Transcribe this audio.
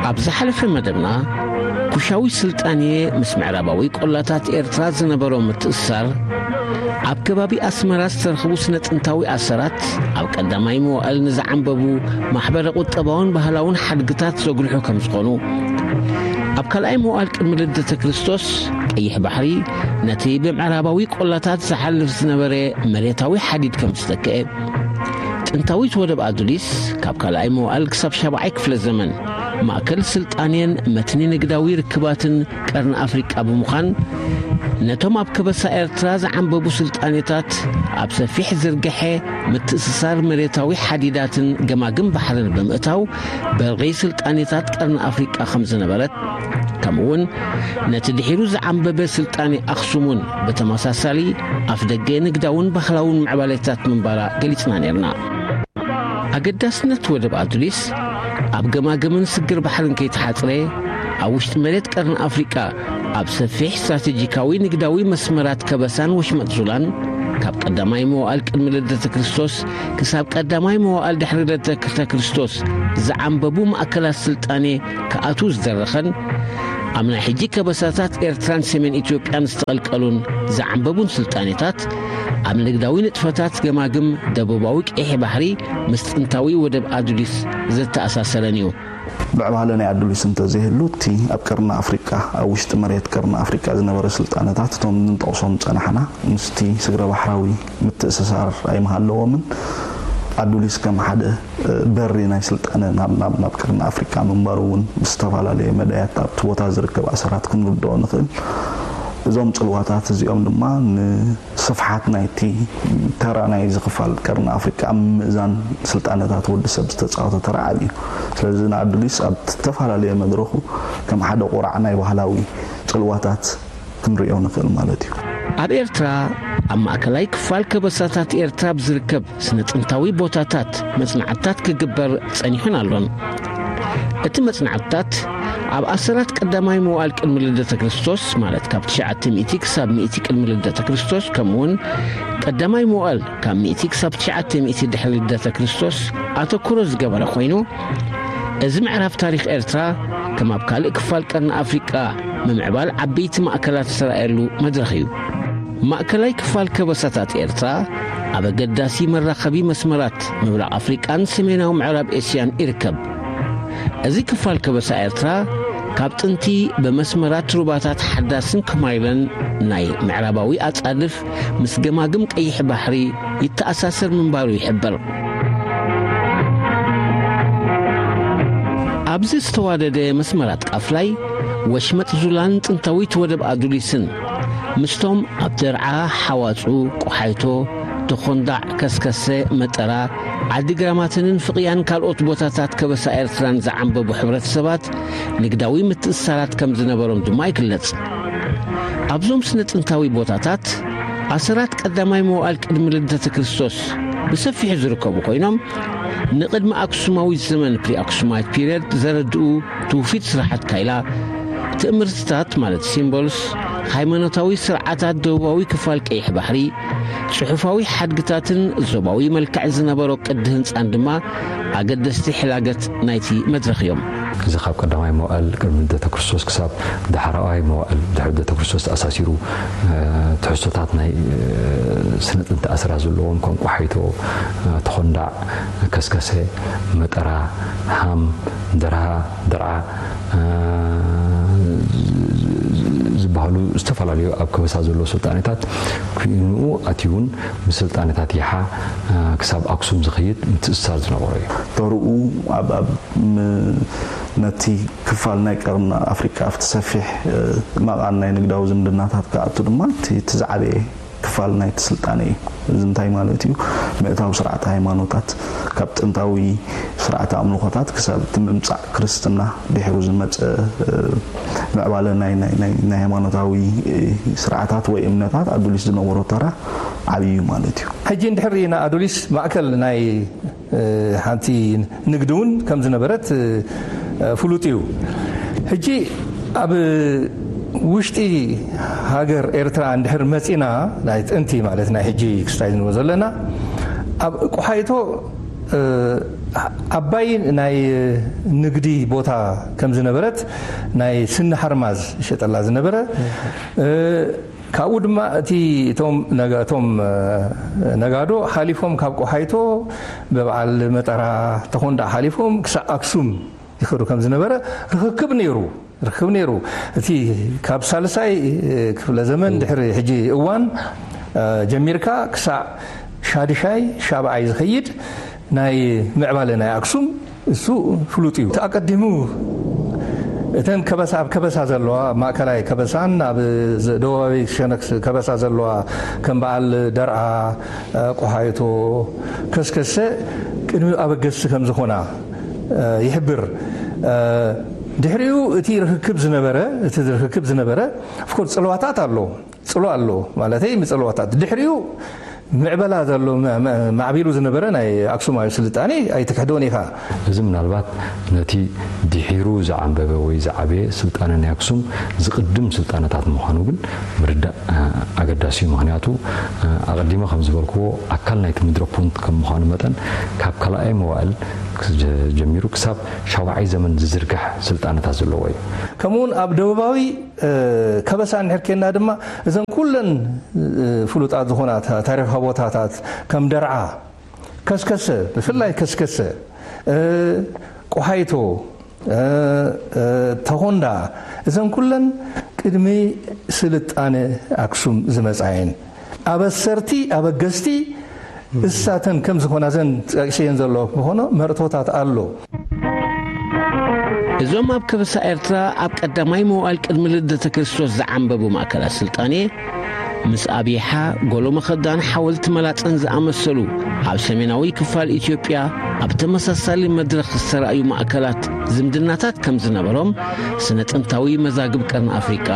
ኣብ ዝሓለፈ መደብና፣ ኩሻዊ ስልጣኔ ምስ ምዕራባዊ ቆላታት ኤርትራ ዝነበሮ ምትእስሳር፣ ኣብ ከባቢ ኣስመራ ዝተረኽቡ ስነ ጥንታዊ ኣሰራት፣ ኣብ ቀዳማይ መዋእል ንዝዓንበቡ ማሕበረ ቁጠባውን ባህላውን ሓድግታት ዘጉልሑ ከም ዝኾኑ፣ ኣብ ካልኣይ መዋእል ቅድሚ ልደተ ክርስቶስ፣ ቀይሕ ባሕሪ ነቲ ብምዕራባዊ ቆላታት ዝሓልፍ ዝነበረ መሬታዊ ሓዲድ ከም ዝተክአ፣ ጥንታዊት ወደብ ኣዱሊስ ካብ ካልኣይ መዋእል ክሳብ ሻብዓይ ክፍለ ዘመን ማእከል ስልጣኔን መትኒ ንግዳዊ ርክባትን ቀርኒ ኣፍሪቃ ብምዃን፣ ነቶም ኣብ ከበሳ ኤርትራ ዝዓንበቡ ስልጣኔታት ኣብ ሰፊሕ ዝርግሐ ምትእስሳር መሬታዊ ሓዲዳትን ገማግም ባሕርን ብምእታው፣ በርቒ ስልጣኔታት ቀርኒ ኣፍሪቃ ከም ዝነበረት፣ ከምኡውን ነቲ ድሒሩ ዝዓንበበ ስልጣኔ ኣኽሱም እውን ብተመሳሳሊ ኣፍ ደገ ንግዳውን ባህላውን ምዕባሌታት ምንባራ ገሊጽና ነርና። ኣገዳስነት ወደብ ኣዱሊስ ኣብ ገማግምን ስግር ባሕርን ከይተሓጽረ፣ ኣብ ውሽጢ መሬት ቀርኒ ኣፍሪቃ ኣብ ሰፊሕ ስትራቴጂካዊ ንግዳዊ መስመራት ከበሳን ወሽመጥ ዙላን፣ ካብ ቀዳማይ መዋእል ቅድሚ ልደተ ክርስቶስ ክሳብ ቀዳማይ መዋእል ድሕሪ ልደተ ክርስቶስ ዝዓንበቡ ማእከላት ስልጣኔ ክኣትዉ ዝደረኸን፣ ኣብ ናይ ሕጂ ከበሳታት ኤርትራን ሰሜን ኢትዮጵያን ዝተቐልቀሉን ዝዓንበቡን ስልጣኔታት፣ ኣብ ንግዳዊ ንጥፈታት ገማግም ደቡባዊ ቀይሕ ባሕሪ ምስ ጥንታዊ ወደብ ኣዱሊስ ዘተኣሳሰረን እዩ። ምዕባለ ናይ ኣዱሊስ እንተዘይህሉ፣ እቲ ኣብ ቀርኒ ኣፍሪቃ፣ ኣብ ውሽጢ መሬት ቀርኒ ኣፍሪቃ ዝነበረ ስልጣነታት፣ እቶም ንጠቕሶም ዝጸናሕና፣ ምስቲ ስግረ ባሕራዊ ምትእስሳር ኣይምሃለዎምን። ኣዱሊስ ከም ሓደ፣ እ፣ በሪ ናይ ስልጣነ ናብ፣ ናብ፣ ናብ ቀርኒ ኣፍሪቃ ምንባሩ እውን ብዝተፈላለየ መዳያት ኣብቲ ቦታ ዝርከብ ኣሰራት ክንርድኦ ንኽእል። እዞም ጽልዋታት እዚኦም ድማ ንስፍሓት ናይቲ ተራ ናይዚ ክፋል ቀርኒ ኣፍሪቃ ኣብ ምእዛን ስልጣነታት ወዲ ሰብ ዝተጻወተ ተራ ዓቢ እዩ። ስለዚ ንኣዱሊስ ኣብ ዝተፈላለየ መድረኹ ከም ሓደ ቁራዕ ናይ ባህላዊ ጽልዋታት ክንርእዮ ንኽእል ማለት እዩ። ኣብ ኤርትራ፣ ኣብ ማእከላይ ክፋል ከበሳታት ኤርትራ ብዝርከብ ስነ ጥንታዊ ቦታታት መጽናዕትታት ክግበር ጸኒሑን ኣሎን። እቲ መጽናዕትታት ኣብ ኣሰራት ቀዳማይ መዋእል ቅድሚ ልደተ ክርስቶስ፣ ማለት ካብ ትሽዓተ ሚእቲ ክሳብ ሚእቲ ቅድሚ ልደተ ክርስቶስ፣ ከምኡውን ቀዳማይ መዋእል ካብ ሚእቲ ክሳብ ትሽዓተ ሚእቲ ድሕሪ ልደተ ክርስቶስ ኣተኩሮ ዝገበረ ኮይኑ፣ እዚ ምዕራፍ ታሪኽ ኤርትራ ከም ኣብ ካልእ ክፋል ቀርኒ ኣፍሪቃ ምምዕባል ዓበይቲ ማእከላት ዝተራእየሉ መድረኽ እዩ። ማእከላይ ክፋል ከበሳታት ኤርትራ ኣብ ኣገዳሲ መራኸቢ መስመራት ምብራቕ ኣፍሪቃን ሰሜናዊ ምዕራብ ኤስያን ይርከብ። እዚ ክፋል ከበሳ ኤርትራ ካብ ጥንቲ ብመስመራት ሩባታት ሓዳስን ከማይረን ናይ ምዕራባዊ ኣጻድፍ ምስ ገማግም ቀይሕ ባሕሪ ይተኣሳሰር ምንባሩ ይሕበር። ኣብዚ ዝተዋደደ መስመራት ቃፍላይ፣ ወሽመጥ ዙላን ጥንታዊት ወደብ ኣዱሊስን፣ ምስቶም ኣብ ደርዓ፣ ሓዋጹ፣ ቆሓይቶ፣ ተኾንዳዕ፣ ከስከሰ፣ መጠራ፣ ዓዲ ግራማትንን ፍቕያን ካልኦት ቦታታት ከበሳ ኤርትራን ዝዓንበቡ ሕብረተሰባት ንግዳዊ ምትእስሳራት ከም ዝነበሮም ድማ ይግለጽ። ኣብዞም ስነ ጥንታዊ ቦታታት፣ ኣሰራት ቀዳማይ መዋእል ቅድሚ ልደተ ክርስቶስ ብሰፊሑ ዝርከቡ ኮይኖም፣ ንቅድሚ ኣክሱማዊ ዘመን፣ ፕሪ ኣክሱማይት ፒሪየድ፣ ዘረድኡ ትውፊት ስራሓት ካይላ፣ ትእምርትታት ማለት ሲምቦልስ፣ ሃይማኖታዊ ስርዓታት ደቡባዊ ክፋል ቀይሕ ባሕሪ፣ ጽሑፋዊ ሓድግታትን ዞባዊ መልክዕ ዝነበሮ ቅዲ ህንጻን ድማ ኣገደስቲ ሕላገት ናይቲ መድረኽ እዮም። እዚ ካብ ቀዳማይ መዋእል ቅድሚ ልደተ ክርስቶስ ክሳብ ዳሕራዋይ መዋእል ድሕሪ ልደተ ክርስቶስ ተኣሳሲሩ፣ እ፣ ትሕዝቶታት ናይ፣ እ፣ ስነ ጥንቲ ኣስራት ዘለዎም፣ ከም ቆሓይቶ፣ እ፣ ተኾንዳዕ፣ ከስከሰ፣ መጠራ፣ ሃም፣ ደርሃ፣ ደርዓ፣ እ፣ ዝበሃሉ ዝተፈላለዩ ኣብ ከበሳ ዘለዉ ስልጣኔታት፣ ኩንኡ ኣትዩን ምስ ስልጣኔታት ይሓ፣ እ፣ ክሳብ ኣክሱም ዝኸይድ ምትእስሳር ዝነበሮ እዩ። ተርኡ ኣብ፣ ኣብ ም-፣ ነቲ ክፋል ናይ ቀርኒ ኣፍሪቃ ኣብቲ ሰፊሕ፣ እ፣ መቓን ናይ ንግዳዊ ዝምድናታት ክኣቱ ድማ እቲ፣ እቲ ዝዓበየ ክፋል ናይቲ ስልጣነ እዩ። እዚ እንታይ ማለት እዩ? ምእታው ስርዓተ ሃይማኖታት፣ ካብ ጥንታዊ ስርዓተ ኣምልኾታት ክሳብ እቲ ምምጻእ ክርስትና፣ ድሒሩ ዝመጸ፣ እ፣ ምዕባለ ናይ፣ ናይ፣ ናይ፣ ናይ ሃይማኖታዊ፣ እ፣ ስርዓታት ወይ እምነታት ኣዱሊስ ዝነበሮ ተራ ዓብዪ እዩ ማለት እዩ። ሕጂ እንድሕር ርኢና ኣዱሊስ ማእከል ናይ፣ እ፣ ሓንቲ ንግዲ እውን ከም ዝነበረት፣ እ፣ ፍሉጥ እዩ። ሕጂ ኣብ ውሽጢ ሃገር ኤርትራ እንድሕር መጺና፣ ናይ ጥንቲ ማለት ናይ ሕጂ ክስታይ ዝንበ ዘለና፣ ኣብ ቆሓይቶ ዓባይ ናይ ንግዲ ቦታ ከም ዝነበረት፣ ናይ ስኒ ሓርማዝ ይሸጠላ ዝነበረ፣ ካብኡ ድማ እቲ እቶም ነጋ- እቶም ነጋዶ ሓሊፎም ካብ ቆሓይቶ ብበዓል መጠራ ተኾንዳ ሓሊፎም ክሳብ ኣክሱም ይኸዱ ከም ዝነበረ ርኽክብ ነይሩ። ርኽክብ ነይሩ። እቲ ካብ ሳልሳይ ክፍለ ዘመን ድሕሪ ሕጂ እዋን ጀሚርካ ክሳዕ ሻድሻይ ሻብዓይ ዝኸይድ ናይ ምዕባለ ናይ ኣክሱም እሱ ፍሉጥ እዩ። እቲ ኣቀዲሙ እተን ከበሳ ኣብ ከበሳ ዘለዋ፣ ማእከላይ ከበሳን ኣብ ደቡባዊ ሸነክ ከበሳ ዘለዋ ከም በዓል ደርዓ፣ ቆሓይቶ፣ ከስከሰ ቅድሚ ኣበገስቲ ከም ዝኾና ይሕብር። ድሕሪኡ እቲ ርክክብ ዝነበረ እቲ ርክክብ ዝነበረ ኦፍኮርስ ጽልዋታት ኣሎ ጽሎ ኣሎ ማለተይ ምጽልዋታት ድሕሪኡ ምዕበላ ዘሎ ማዕቢሉ ዝነበረ ናይ ኣክሱማዊ ስልጣኔ ኣይትክሕዶን ኢኻ። እዚ ምናልባት ነቲ ድሒሩ ዝዓንበበ ወይ ዝዓበየ ስልጣነ ናይ ኣክሱም ዝቕድም ስልጣነታት ምዃኑ ግን ምርዳእ ኣገዳሲ እዩ። ምኽንያቱ ኣቐዲመ ከም ዝበልክዎ ኣካል ናይቲ ምድረ ፑንት ከም ምዃኑ መጠን ካብ ካልኣይ መዋእል ጀሚሩ ክሳብ ሻውዓይ ዘመን ዝዝርጋሕ ስልጣነታት ዘለዎ እዩ። ከምኡውን ኣብ ደቡባዊ ከበሳ እንድሕር ኬንና ድማ እዘን ኩለን ፍሉጣት ዝኾና ታሪኻዊ ቦታታት ከም ደርዓ፣ ከስከሰ፣ ብፍላይ ከስከሰ፣ ቆሓይቶ፣ ተኾንዳ፣ እዘን ኩለን ቅድሚ ስልጣነ ኣክሱም ዝመጻ እየን። ኣበሰርቲ፣ ኣበገስቲ እሳተን ከም ዝኾና ዘን ጠቂሰየን ዘለኹ ምኾኖ መርቶታት ኣሎ። እዞም ኣብ ከበሳ ኤርትራ ኣብ ቀዳማይ መዋእል ቅድሚ ልደተ ክርስቶስ ዝዓንበቡ ማእከላት ስልጣኔ ምስ ኣብይሓ፣ ጎሎ መኸዳን ሓወልቲ መላጸን ዝኣመሰሉ ኣብ ሰሜናዊ ክፋል ኢትዮጵያ ኣብ ተመሳሳሊ መድረኽ ዝተራእዩ ማእከላት ዝምድናታት ከም ዝነበሮም ስነ ጥንታዊ መዛግብ ቀርኒ ኣፍሪቃ